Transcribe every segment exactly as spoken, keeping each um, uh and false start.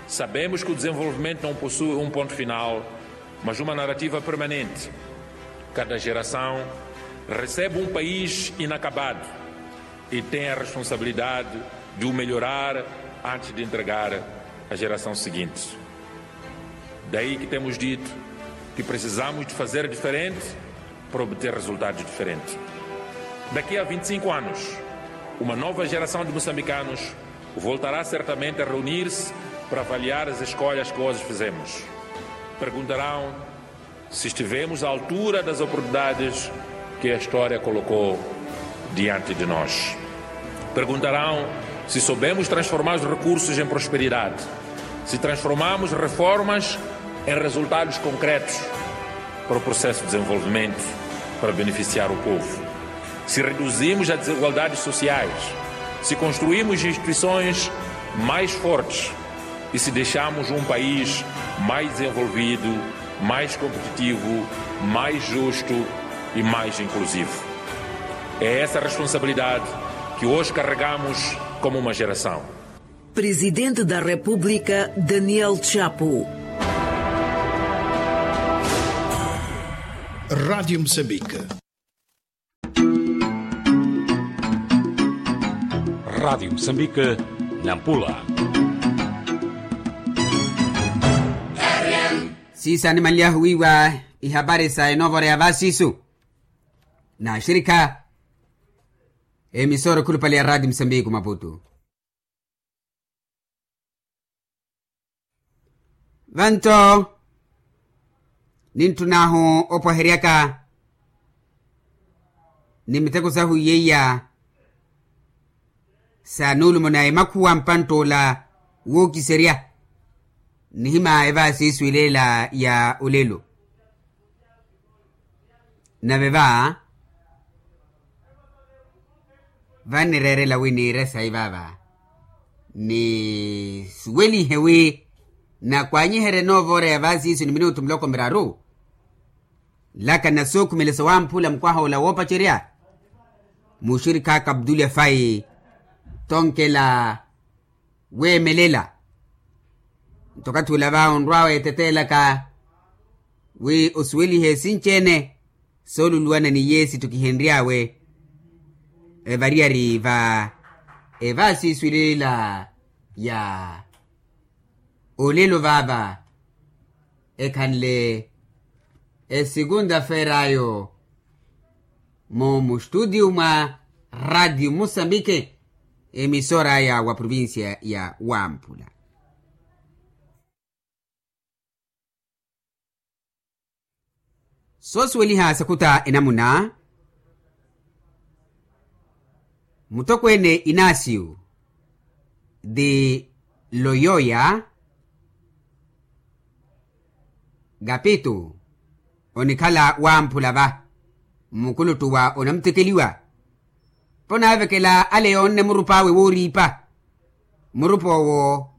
Sabemos que o desenvolvimento não possui um ponto final, mas uma narrativa permanente. Cada geração recebe um país inacabado e tem a responsabilidade de o melhorar antes de entregar à geração seguinte. Daí que temos dito que precisamos de fazer diferente para obter resultados diferentes. Daqui a vinte e cinco anos, uma nova geração de moçambicanos voltará certamente a reunir-se para avaliar as escolhas que hoje fizemos. Perguntarão se estivemos à altura das oportunidades que a história colocou diante de nós. Perguntarão se soubemos transformar os recursos em prosperidade, se transformamos reformas em resultados concretos para o processo de desenvolvimento, para beneficiar o povo, se reduzimos as desigualdades sociais, se construímos instituições mais fortes e se deixamos um país mais desenvolvido, mais competitivo, mais justo e mais inclusivo. É essa responsabilidade que hoje carregamos como uma geração. Presidente da República, Daniel Chapo. Rádio Moçambique. Rádio Moçambique, Nampula. Siisa animaliyahu wiiwa ihapari sa enoovora ya vasisu na axirikha emisora ekhulupale ya Rádio Moçambique Maputo. Vanto ninttun'ahu opwaheryaka ni miteko sahu iyeiya sa nuulumo na emakhuwa mpantt'ola wookiserya nihima evaasi iswileela ya olelo. Nave va vanireerela wi niire sayi vaava nisuwelihe wi nakwanyiherye noova ora ya vaasiisu ni minutu muloko miraru. Laka na sookhumelesa wamphula mukwaha ola woopacerya muxirikha kaptulya fayi tonkela weemelela. Nto okathi ula va onrwa weeteteelaka wi osuwelihe esinci-ene sooluluwana ni yeesi ttukihenry'awe evariyari va evaasiiswilila ya olelo vaava ekhanle esekunta feer'ayo mu mustutiyu mwa radio musambike emisora aya wa provincia ya wamphula. Soosuweliha sakuta enamuna mutokweene inasiyu ti loyoya kapitu onikhala wamphula va mmukuluttu wa onamutekeliwa. Ponaavekela ale yoonne murup'awe wooriipa murup'owo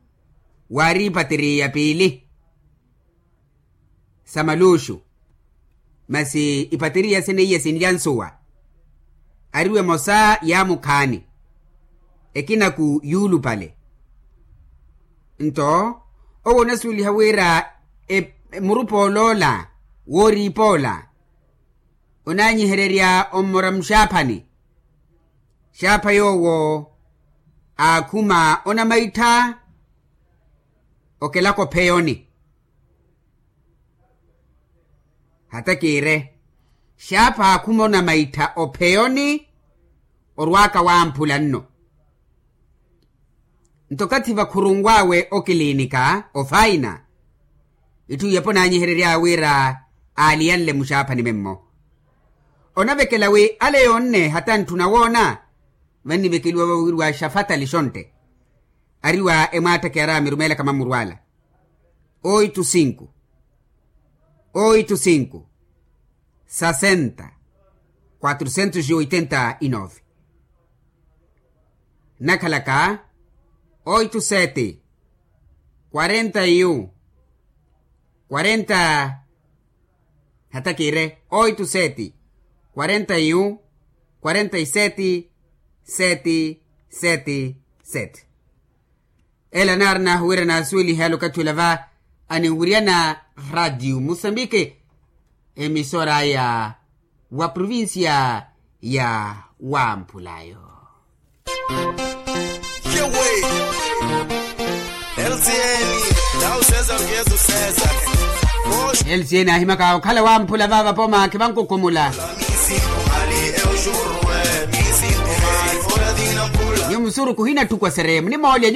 waariipa tiriya piili sa maluuxu masi ipateriya seneiya sinlya nsuwa ariwe emosa yaamukhaani ekinaku yuulupale. Nto owo onasuweliha wira murup'ola ola wooriip'ola onaanyihererya ommora muxaaphani xaapha yoowo aakhuma onamaittha okelaka opheyoni. Hata kiire xaapha aakhuma onamaittha opheyoni orwaaka wamphula nno. Nto okathi vakhurunw'awe okilinika ofaina itthu iyepo onaanyiherery'awe wira aaliyanle muxaaphani memmo. Onavekela wi ale yoonne hata ntthuna woona vannivekeliwa vawiriwa xafatali xontte ari wa emwaattakiyara mirumeelaka mamurwala oitu sinku oitu sinku sasenta quatrocentos e oitenta e nove. Nakhalaka oitu sete quarenta e um quarenta hata kiire oitu sete quarenta e um quarenta e sete sete sete sete. Ela naarina wira naasuwelihe alokatthi ola va aninwiryana, ratio musambiki, emisora ya wa provincia ya wamphulayo. Lcn ahimaka okhala wamphula vava poma khivankukhumula. Ni musuruku hina tthukwa sereemu ni moolya.